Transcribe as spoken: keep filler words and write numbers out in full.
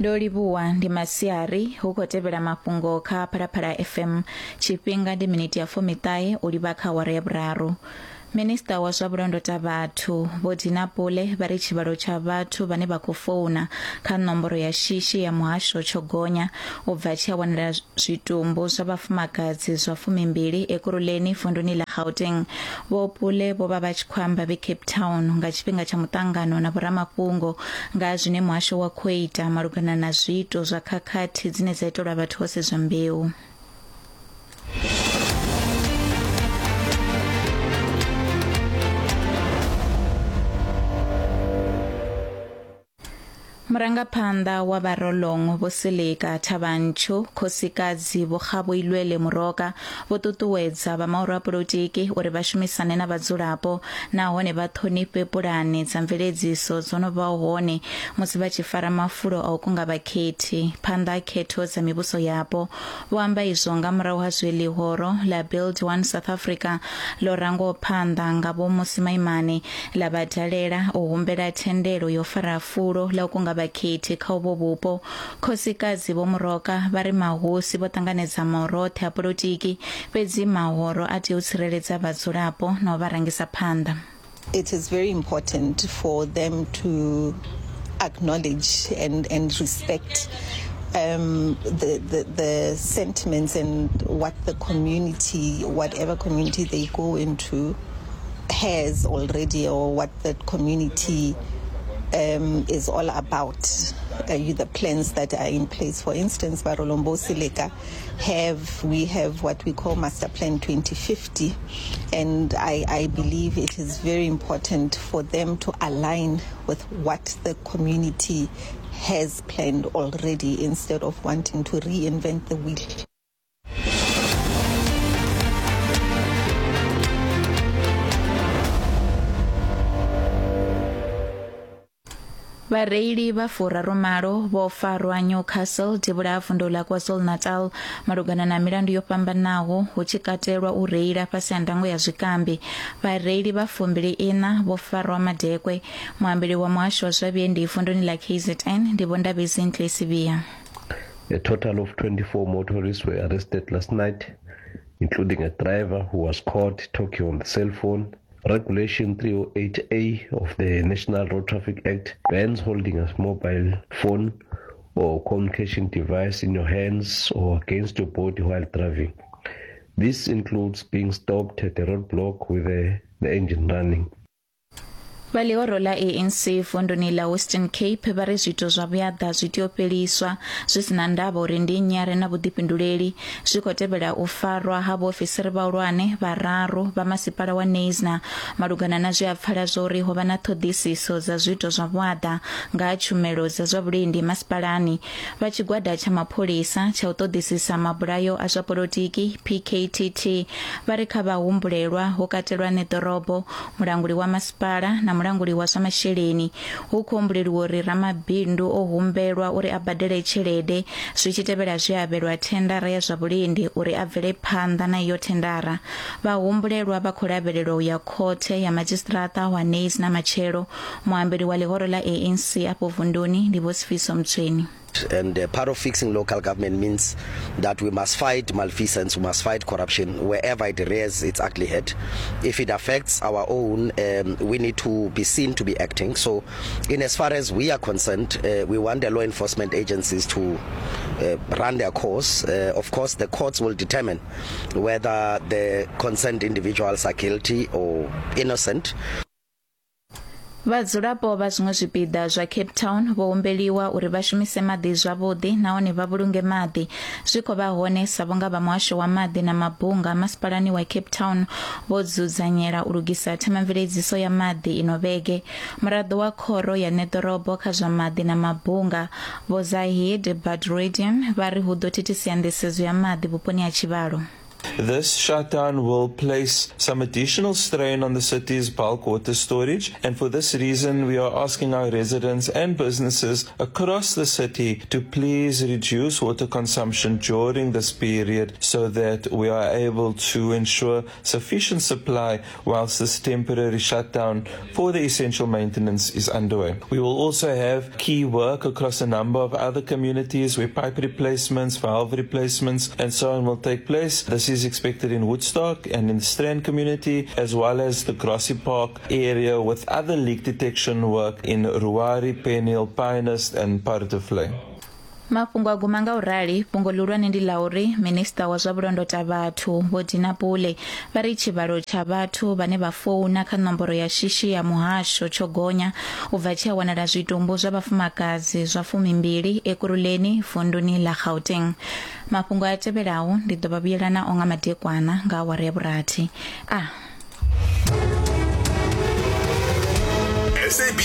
Ndo livhuwa ndi masiari hu khou tevhela mafhungo kha Phalaphala F M. Tshifhinga ndi miniti ya fumiṱahe u livha kha awara ya vhuraru. Minista wa zwa vhulondota vhathu Vho Dina Pule vha ri tshivhalo tsha vhathu vhane vha khou founa kha nomboro ya shishi ya muhasho tsho gonya u bva tshi a wanala zwitumbu zwa vhafumakadzi zwa fumimbili Ekurhuleni vunduni ḽa Gauteng. Vho Pule vho vha vha tshi khou amba vhe Cape Town nga tshifhinga tsha muṱangano na vhoramafhungo nga zwine muhasho wa khou ita malugana na zwiito zwa khakhathi dzine dza itelwa vhathu vho sedzwa mbeu. Murangaphanḓa wa Barolong Vho Seleka Thabanchu khosikadzi Vho Kgaboilwele Moroka vho ṱuṱuwedza vha mahoro a polotiki uri vha shumisane na vhadzulapo nahone vha ṱhonifhe pulane dza mveledziso dzo no vhaho hone musi vha tshi fara mafulo a u kunga vhakhethi phanḓa ha khetho dza mivhuso yapo. Vho amba izwo nga murahu ha zwe ḽihoro ḽa Build One South Africa ḽo rangwaho phanḓa nga Vho Mmusi Maimane ḽa vha dalela u humbela thendelo yo fara fulo ḽa u kunga vhakhethi kha uvho vhupo. Khosikadzi Vho Moroka vha ri mahosi vho ṱanganedza mahoro oṱhe a polotiki, fhedzi mahoro a tea u tsireledza vhadzulapo na u vha rangisa phanḓa. It is very important for them to acknowledge and, and respect um, the, the, the sentiments and what the community, whatever community they go into, has already, or what the community Um, is all about, uh, the plans that are in place. For instance, Barolong Bo Seleka have, we have what we call Master Plan twenty fifty, and I, I believe it is very important for them to align with what the community has planned already instead of wanting to reinvent the wheel. Vhareili vha furarumalo vho farwa Newcastle devhula ha vundu ḽa KwaZulu-Natal malugana na milandu yo fhambanaho hu tshi katelwa u reila fhasi ha ndango ya zwikambi. Vhareili vha fumbili ina vho farwa madekwe. Muambeli wa muhasho wa zwa vhuendi vunduni ḽa K Z N ndi Vho Ndabezi Sibiya. A total of twenty-four motorists were arrested last night, including a driver who was caught talking on the cell phone. Regulation three oh eight A of the National Road Traffic Act bans holding a mobile phone or communication device in your hands or against your body while driving. This includes being stopped at a roadblock with the, the engine running. Vha ḽihoro ḽa A N C vunduni ḽa Western Cape vha ri zwiito zwa vhuaḓa zwi tea u fheliswa zwi si na ndavha uri ndi nnyi a re na vhuḓifhinduleli. Zwi khou tevhela u farwa ha vhaofisiri vhahulwane vhararu vha masipala wa Neisner malugana na zwe a pfala zwa uri ho vha na ṱhoḓisiso dza zwiito zwa vhuaḓa nga ha tshumelo dza zwa vhulindi masipalani. Vha tshigwada tsha mapholisa tsha u ṱoḓisisa mabulayo a zwa polotiki P K T T vha ri kha vhahumbulelwa ho katelwa ṋeḓorobo, mulanguli wa masipala na mulanguli wa zwa masheleni. Hu khou humbuleliwa uri ramabindu o humbelwa uri a badele tshelede zwi tshi tevhela zwe a avhelwa thendara ya zwa vhulindi uri a bvele phanḓa na iyo thendara. Vhahumbulelwa vha khou lavhelelwa u ya khothe ya madzhisiṱiraṱa wa Neis na matshelo. Muambeli wa ḽihoro ḽa A N C afho vunduni ndi Vho Sifiso Mtsweni. And uh, part of fixing local government means that we must fight malfeasance, we must fight corruption wherever it rears its ugly head. If it affects our own, um, we need to be seen to be acting. So in as far as we are concerned, uh, we want the law enforcement agencies to uh, run their course. Uh, of course, the courts will determine whether the concerned individuals are guilty or innocent. Vhadzulapo vha zwiṅwe zwipiḓa zwa Cape Town vho humbeliwa uri vha shumise maḓi zwavhuḓi nahone vha vhulunge maḓi. Zwi khou vha hone sa vhunga vha muhasho wa maḓi na mabunga masipalani wa Cape Town vho dzudzanyela u lugisa themamveledziso ya maḓi ino vhege. Muraḓo wa khoro ya ṋeḓorobo kha zwa maḓi na mabunga Vho Zahid Badruddin vha ri hu ḓo thithisia nḓisedzo ya maḓi vhuponi ha tshivhalo. This shutdown will place some additional strain on the city's bulk water storage, and for this reason we are asking our residents and businesses across the city to please reduce water consumption during this period so that we are able to ensure sufficient supply whilst this temporary shutdown for the essential maintenance is underway. We will also have key work across a number of other communities where pipe replacements, valve replacements and so on will take place. This is expected in Woodstock and in the Strand community, as well as the Grassy Park area, with other leak detection work in Ruari, Penhill, Pinehurst and Paardevlei. Mafhungo a guma nga u rali. Fhungo ḽihulwane ndi ḽa uri minista wa zwa vhulondota vhathu Vho Dina Pule vha ri tshivhalo tsha vhathu vhane vha founa kha nomboro ya shishi ya muhasho tsho gonya u bva tshi a wanala zwitumbu zwa vhafumakadzi zwa fumimbili Ekurhuleni vunduni ḽa Gauteng. Mafhungo a tevhelaho ndi ḓo vha vhuyela nao nga madekwana nga awara ya vhurathi. A S A B